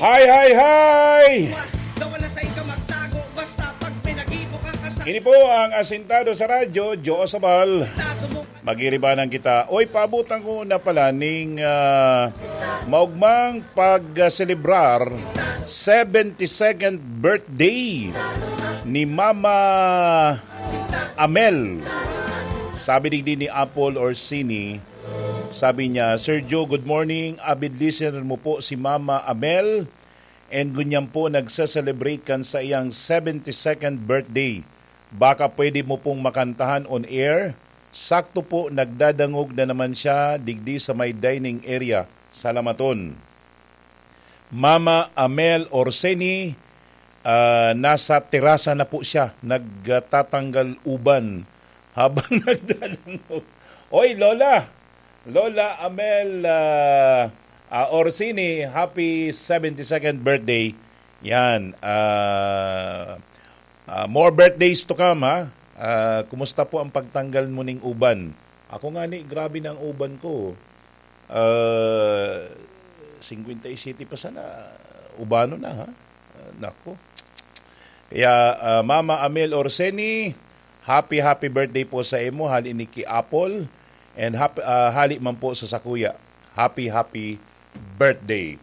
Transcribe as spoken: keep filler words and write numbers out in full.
Hi, hi, hi! Daw wala sa ika magtago, basta pag pinagibo ka, kasal- Ini po ang Asintado sa Radyo, Joe Sabal. Magiribanan kita. Oy, paabutan ko na pala ning, ah, maugmang pag-selebrar seventy-second birthday ni Mama Amel. Sabi digdi ni Apple Orsini, sabi niya, "Sir Joe, good morning. Avid listener mo po si Mama Amel. And ngunyan po nagse-celebrate kan saiyang seventy-second birthday. Baka pwede mo pong makantahan on air? Sakto po, nagdadangog na naman siya digdi sa may dining area. Salamaton." Mama Amel Orseni, ah, nasa terasa na po siya, nagtatanggal uban habang nagdadangog. Oy, Lola! Lola Amel, ah, ah, Orsini, happy seventy-second birthday. Yan, ah, ah, more birthdays to come, ha? Ah, kumusta po ang pagtanggal mo ning uban? Ako nga ni, grabe na ang uban ko. Ah, singkwenta y siyete pa sana, ubano na, ha? Ah, nako. Kaya, ah, Mama Amel Orseni, happy, happy birthday po sa imo, hali ni ki Apple, and hap-, ah, hali man po sa sakuya. Happy, happy birthday.